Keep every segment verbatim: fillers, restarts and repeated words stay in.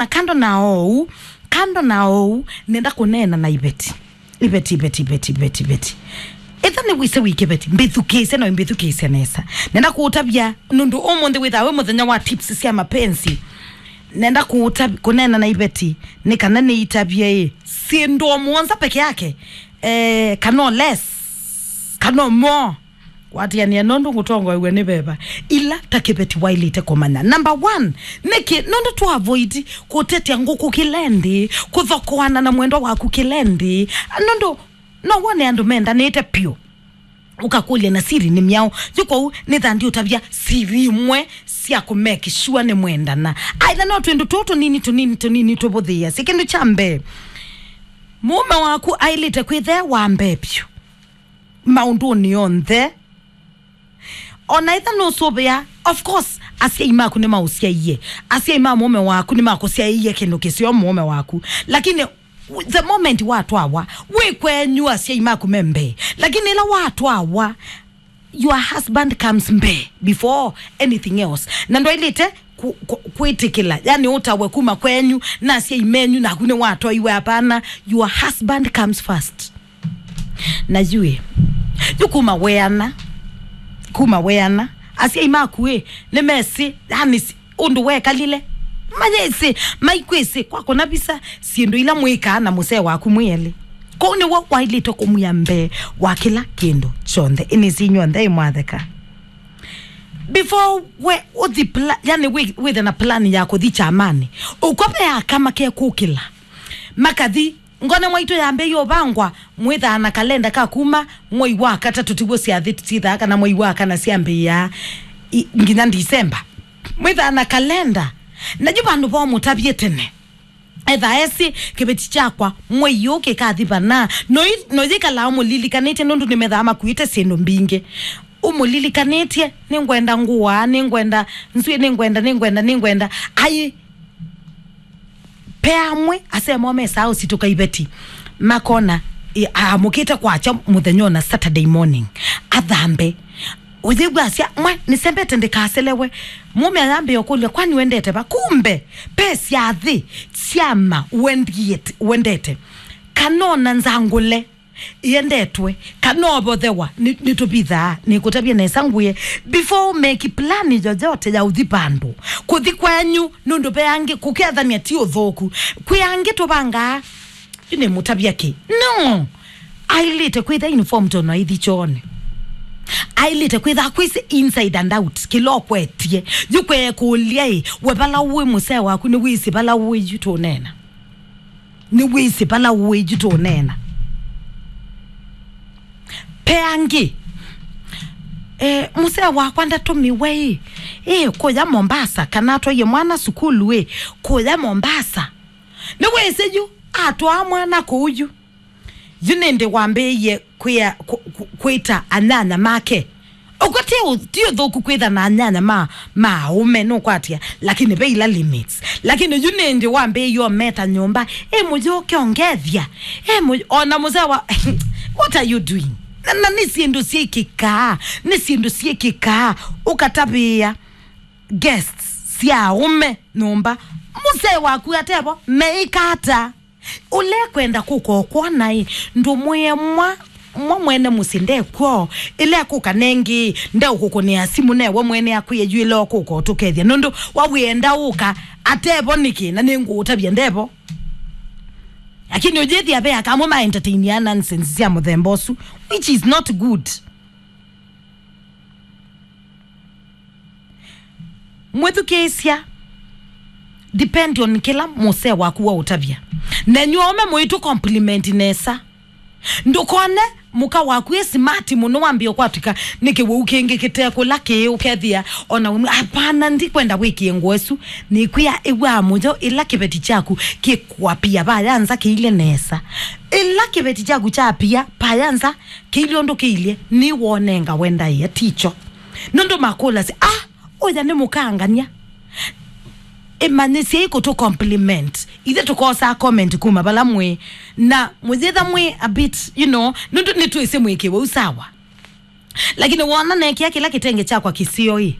Na kando na ou, kando na ou, nenda kũneena na Iveti. Iveti, Iveti, Iveti, Iveti, Iveti. Ĩtha nĩ wĩsĩ wĩ kĩveti, mbĩthukĩĩsye na mbĩthukĩĩsye nesa. Nenda kũũtavya, nũndũ ũmũnthĩ wĩthaa wĩ mũthenya wa tips sya mapenzi. Nenda kũũtav-, kũneena na Iveti, nĩ kana nĩitavye ĩ, syĩndũ o mũonza peke yake, eh, kana o less, kana o more. Kwatĩanĩa nũndũ ngũtongoew'e nĩ veva. Ila ta kĩveti waĩlĩte kũmanya. Number one, nĩkĩ nũndũ tũ avoid kũtetya ngũkũ kĩla ĩndĩ, kũthokoana na mwendwa waku kĩla ĩndĩ? Nũndũ no wone andũ mendanĩte pyũ. Ũkakũlya na siri nĩ myaũ. Yu kwoou nĩtha ndiũtavya siri imwe sya kũ make sure nĩ mwendana. Aitha no twĩndũ tũũ tũnini, tũnini, tũnini tũvũthĩĩasya. Kĩndũ kya mbee, mũũme waku aĩlĩte kwĩthĩa wa mbee vyũ maũndũnĩ onthe. Ona ĩtha nũsũvĩa, of course, asyai maku nĩmaũsyaie. Asyai ma mũũme waku nĩmakũsyaĩie kĩndũ kĩseo mũũme waku. Lakini the moment watwawa, wĩ kwenyu asyai maku me mbee. Lakini ĩla watwawa, your husband comes mbee before anything else. Na ndwaĩlĩte ku-, ku-, kwĩtĩkĩla, yani ũtawe kuma kwenyu, na asyai menyu, naku nĩwatwaiwe, hapana. Your husband comes first. Na yu ĩ, yu kuma weana, kuma weana, asyai maku ĩ, nĩmesĩ, yani, si-, ũndũ wekalile. Mayĩsĩ, maikwĩsĩ, kwakũna visa, syĩndũ ila mwĩkaa na mũsee waku mwĩ elĩ. Kwoou nĩw'o waĩlĩte kũmwĩa mbee wa kĩla kĩndũ kyonthe. Ĩnĩsĩ inyw'onthe ĩmwatheka. Before we ũthi pla-, yani wĩ-, wĩthe na plan ya kũthi kyamanĩ, ũko ve aka makekũkĩla. Makathi, ngone mwaitũ yambĩĩie ũvangwa, mwĩthaa na kalenda ka kuma mwei wa katatũ tiw'o syathĩ syĩthaa, kana mwei wa kana syambĩĩaa i-, nginya December. Mwĩthaa na kalenda. Na yu vandũ vomũtavye tene. Etha esĩ kĩveti kyakwa mwei ũũ kĩkathi vana. Noi-, noyĩkalaa ũmũlilikanĩtye nũndũ nĩmethaa makuĩte syĩndũ mbingĩ. Ũmũlilikanĩtye, nĩngwenda ngũa, nĩngwenda nzwĩ, nĩngwenda, nĩngwenda, nĩngwenda. Ai, pe amwe, asemwa mesaa ũsitũka iveti. Makona, ĩ, amũkĩte kwakya mũthenya ona Saturday morning. Athambe. Ũyĩw'a asya, mwa, nĩsembete ndĩkaselewe. Mũme ayambĩa ũkũlya, kwani wendete va? Kumbe, pe syathĩ syama wendiet-, wendete. Kana ona nzangũle yendetwe, kana ovothewa, nĩ, nĩtũvithaa, nĩkũtavya nesa ngwĩe. Before ũmeki plani yoyote ya ũthi vandũ, kũthi kwenyu, nũndũ ve angĩ, kũkethany'a ti ũthũku. Kwĩ angĩ tũvangaa, yu nĩmũtavya kĩ? No! Ailĩte kwĩtha informed ona aithi kyoonĩ. Ailĩte kwĩtha kwĩsĩ inside and out, kĩla ũkwetie. Yu kwekũlya ĩ, we vala ũĩ mũsee waku, nĩwĩsĩ vala ũĩ yu tũneena. Nĩwĩsĩ vala ũĩ yu tũneena. Pe angĩ, eh, mũsee wakwa ndatũmiwe ĩ, ĩ, kũya Mombasa, kana atwaie mwana sukulu ĩ, kũya Mombasa. Nĩwĩsĩ yu, atwaa mwana kũu yu. Yu nĩndĩ wambĩĩie kwĩa-, kũ-, kũ-, kwĩta anyanya make. Ũkw'a ti ũ-, ti ũthũku kwĩtha na anyanya ma, ma aũme, nũkwatĩa, lakini ve ila limits. Lakini yu nĩndĩ wambĩĩie ũmeta nyũmba, ĩ mũyũke ongethya, ĩ mũy-, ona mũsee wa, what are you doing? Na, na nĩ syĩndũ syĩkĩkaa, nĩ syĩndũ syĩkĩkaa, ũkatavĩĩa guests sya aũme nyũmba, mũsee waku atevo, meĩka ata? Ũlekwenda kũka ũkwona ĩ, ndũmwĩe mwa, mwa mwene mũsyĩ ndekw'o, ĩla ekũka nengĩ, ndeũkũkũnĩa simũ newe mwene akwĩe yu ĩla ũkũka ũtũkethya, nũndũ wa wĩenda ũka, atevo nĩkĩ, na nĩngũũtavya ndevo. Lakini ũyĩthĩa ve aka amwe ma entertainia nonsense sya mũthemba ũsu, which is not good. Mwĩthukĩĩsya, depend on kĩla mũsee waku waũtavya. Nenyu aũme mũitũ compliment nesa. Ndũkone mũka waku e smart mũno wambĩe kwatw'ĩka nĩ kĩwau kĩngĩ kĩtekũla kĩĩ ũkethĩa ona ũmwe, hapana, ndikwenda wĩkĩe ngũa ĩsu. Nĩkwĩa ĩw'aa mũyo ĩla kĩveti kyaku kĩkwapia vaya nza kĩilye nesa. Ĩla kĩveti kyaku kyapia vaya nza kĩilye ũndũ kĩilye, nĩwonenga wendaĩa ticho. Nũndũ makũlasya, ah, ũya nĩ mũkangania. Ĩmanyĩsyei kũtũ compliment. Ithe tũkosaa comment kuma vala mwĩ. Na mũyĩtha mwĩ a bit, you know, nũndũ nĩtwĩsĩ mwĩ kĩwau sawa. Lakini wona nekĩa kĩla kĩtenge kyakwa kĩseo ĩ,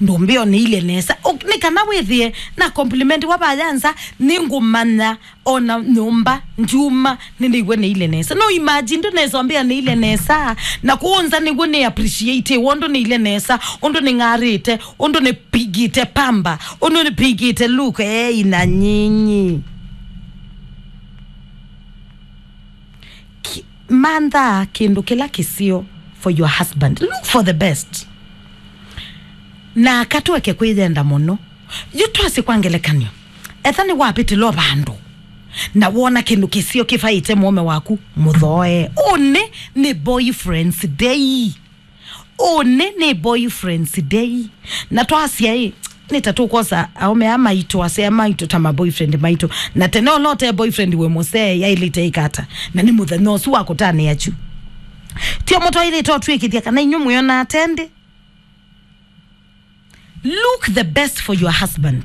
Ndũmbĩa ũnĩilye nesa. O, nĩ kana wĩthĩe na compliment wa vaya nza, nĩngũmanya ona nyũmba ndyuma nĩnĩw'a nĩile nesa. No imagine ndũnesa ũmbĩa nĩile nesa, na kũũ nza nĩw'o nĩ appreciate ũndũ nĩile nesa, ũndũ nĩng'arĩte, ũndũ nĩpigĩte pamba, ũndũ nĩpigĩte look, ei na nyinyi. Ki-, mantha kĩndũ kĩla kĩseo for your husband. Look for the best. Na katweke kwĩyenda mũno. Yu twasye kwa ngelekany'o, etha nĩwavĩtĩlwa vandũ na wona kĩndũ kĩseo kĩvaĩte mũũme waku, mũthoe. Ũnĩ nĩ boyfriend's day. Ũnĩ nĩ boyfriend's day. Na twasya ĩ, nĩ ta tũkwosa aũme aa maitũ, asea maitũ ta ma boyfriend maitũ. Na tene ũla ũte boyfriend wĩ mũsee yaĩlĩte ĩkata. Na nĩ mũthenya ũsu wa kũtanĩa kyu. Tio mũtwaĩlĩte ũtwĩkĩthya kana inyu mwĩona atendĩ. Look the best for your husband.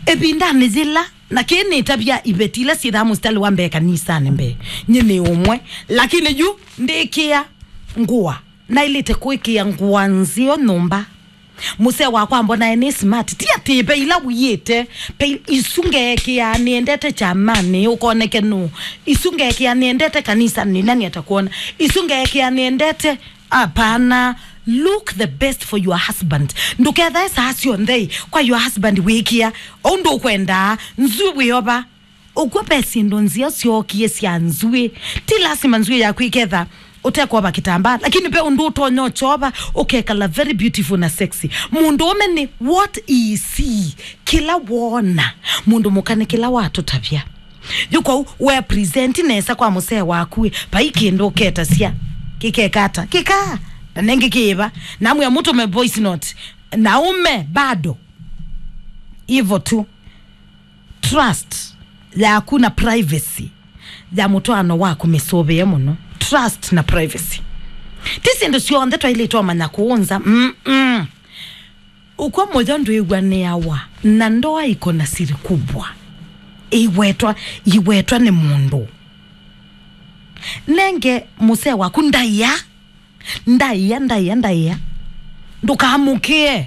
Ĩvindanĩ yĩla, na kĩĩ nĩtavya iveti ila syĩthaa mũsitalĩ wa mbee kanisanĩ mbee, nyie nĩ ũmwe, lakini yu ndĩkĩa ngũa, naĩlĩte kwĩkĩa ngũa nzeo nyũmba. Mũsee wakwa ambonae nĩ smart, ti atĩ ve ila wiĩte, ve isu ngeekĩaa nĩendete kyamanĩ, ũkoneke nũ. Isu ngeekĩaa nĩendete kanisanĩ, nani atakuona? Isu ngeekĩaa nĩendete Hapana. Look the best for your husband. Ndũkethae saa syonthe kwa your husband wĩkĩa ũndũ ũkwendaa. Nzw'ĩ wĩova. Ũkw'o ve syĩndũ nzeo syookie sya nzw'ĩ. Ti lasima nzw'ĩ yaku ĩketha ũtekwova kĩtambaa, lakini ve ũndũ ũtonya ũkyova ũkekala very beautiful na sexy. Mũndũũme nĩ what he see, kĩla woona. Mũndũ mũka nĩ kĩla watũtavya. Yu kwoou we present nesa kwa mũsee waku ĩ, vai kĩndũ ũketasya. Kĩkeka ata? Kĩkaa. Na nengĩ kĩĩva. Namwĩa mũtũme voice note. Na ũme bado. Hivyo tu. Trust yaku na privacy ya mũtwaano waku mĩsũvĩe mũno. Trust na privacy. Ti syĩndũ syonthe twaĩlĩtwe ũmanya kũũnza. Mm-mm. Ũkw'o mũyo ndwĩw'anĩawa, na ndoa iko na siri kubwa. Iwetwa, iwetwa nĩ mũndũ. Nenge mũsee waku ndaĩa, ndaĩa, ndaĩa, ndaĩa. Ndũkamũkĩe.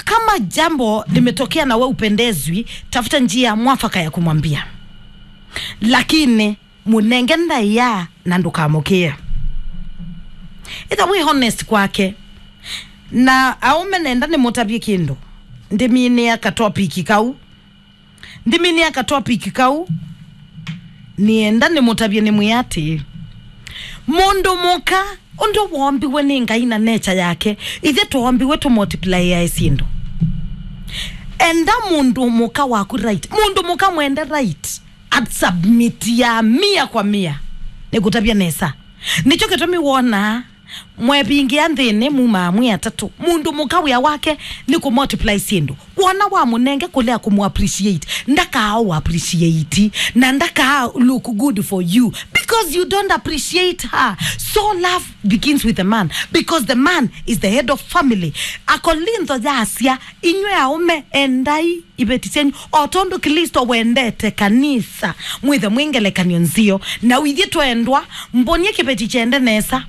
Kama jambo limetokea na we upendezwi, tafuta njia mwafaka ya kumwambia. Lakini mũnenge ndaĩa na ndũkamũkĩe. Ĩtha wĩ honest kwake. Na aũme nenda nĩmũtavye kĩndũ. Ndĩminĩa ka topic kau. Ndĩminĩa ka topic kau. Nĩenda nĩmũtavye nĩmwĩa atĩĩ, mũndũ mũka ũndũ woombiwe nĩ Ngai na nature yake, ithyĩ twoombiwe tũmultiplyae syĩndũ. Enda mũndũ mũka waku right. Mũndũ mũka mwende right. At submit ya mia kwa mia. Nĩkũtavya nesa. Nĩkyo kĩtumi wonaa mwevingĩa nthĩnĩ mumaa mwĩ atatũ. Mũndũ mũka wĩa wake nĩ kũmultiply syĩndũ. Wona wamũnenge kũlea kũmũappreciate, ndakaa ũappreciate, na ndakaa look good for you because you don't appreciate her. So love begins with the man because the man is the head of family. Akolintho yasya, inyw'ĩ aũme, endai iveti syenyu, o tondũ Klĩsto wendete kanisa, mwĩthe mwĩ ngelekany'o nzeo. Na ithyĩ twendwa, mbonie kĩveti kyende nesa,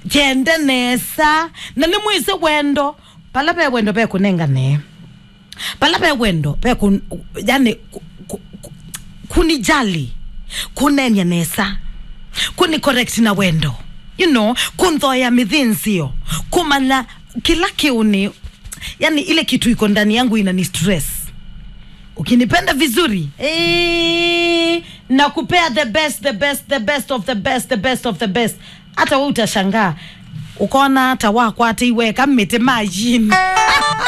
kyende nesa, na nĩmwĩsĩ wendo, vala ve wendo ve kũnengane, vala ve wendo ve kũ-, yani, kũ-, kũ-, kũ-, kũnijali, kũneeny'a nesa, kũni correct na wendo, you know, kũnthoea mĩthĩnzĩo, kũmanya kĩla kĩũnĩ, yani ile kitu iko ndani yangu inani stress. Ukinipenda vizuri, eh, nakupea the best, the best, the best of the best, the best of the best. Hata we utashangaa. Ukaona hata wakwatĩiwe eka mĩtĩ majini.